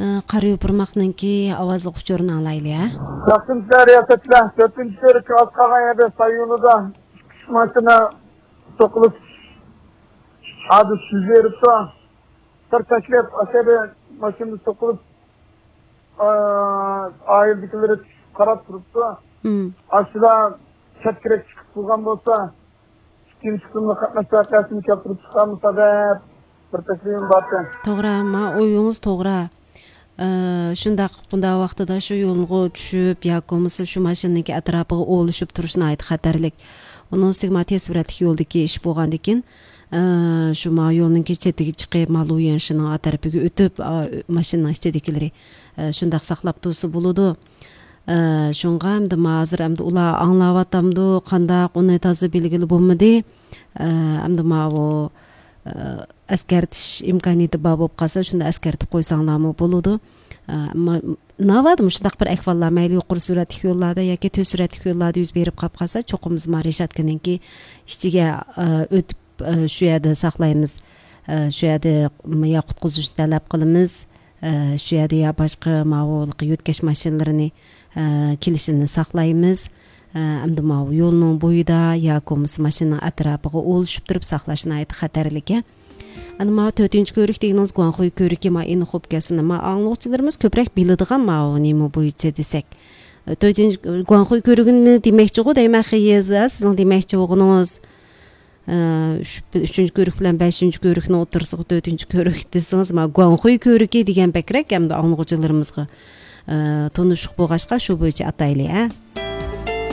Карый Упырмактынки аваздык учурун алайлы, Жакшылыктар ясачылар 4-көрүк аскаган жерде Саюнуда машина сокулуп ады сүзерипти. Тарташлап ашеде машина сокулуп айылдыкилер карап турупту. Ашыда чаткерек чыгып турган болсо, ким чыкканга катнашкан чакырып чыкканбызда деп bir taslim bapты. To'g'ri, o'yingiz to'g'ri. Shundaq bunda vaqtida shu yo'lga tushib yoki bo'lmasa shu mashinaning atrofiga o'lishib turishni ayt xatarlik. Uning ustiga tez suratli yo'ldagi ish bo'lgandan keyin shu yo'lning chetiga chiqib maluyanshining atrofiga o'tib mashinaning ichidagilari shundaq saqlab tursa bo'ladi. Shunga hamda hozir hamda ular anglawatamdi, qandaq uni toza belgili bo'lmadi. Hamda bu askartish imkoniyati bor bo'lib qolsa, shunda askartib qo'ysanglarmi bo'ladi. Navbat shundaq bir ahvollar mayli yuqori suratli yo'llarda yoki tez suratli yo'llarda yuz berib qolib qolsa, cho'qimiz Reshatkaninki ichiga o'tib shu yerda saqlaymiz. Shu yerda ya qutqizishni talab qilamiz. Shu yerda ya boshqa ma'lumotli yo'tkash mashinalarini kelishini saqlaymiz. Hamda yo'lning bo'yida yoki bo'lmasa mashinaning atrofiga o'lishib turib saqlashni ayt xatarligi. Ana 4-ko'rik deganimiz Guanxuy ko'riki eni xo'p kelsin. Anglovchilarimiz ko'proq biladigan nima bo'yicha desak. 4-Guanxuy ko'rigini demakchi-ku deyman xiyeza, sizning demakchi o'g'ingiz 3-ko'rik bilan 5-ko'rikni o'tirsiq 4-ko'rik desangiz, Guanxuy ko'riki degan bakrak hamda anglovchilarimizga to'nishiq bo'lg'achqa shu bo'yicha atayli,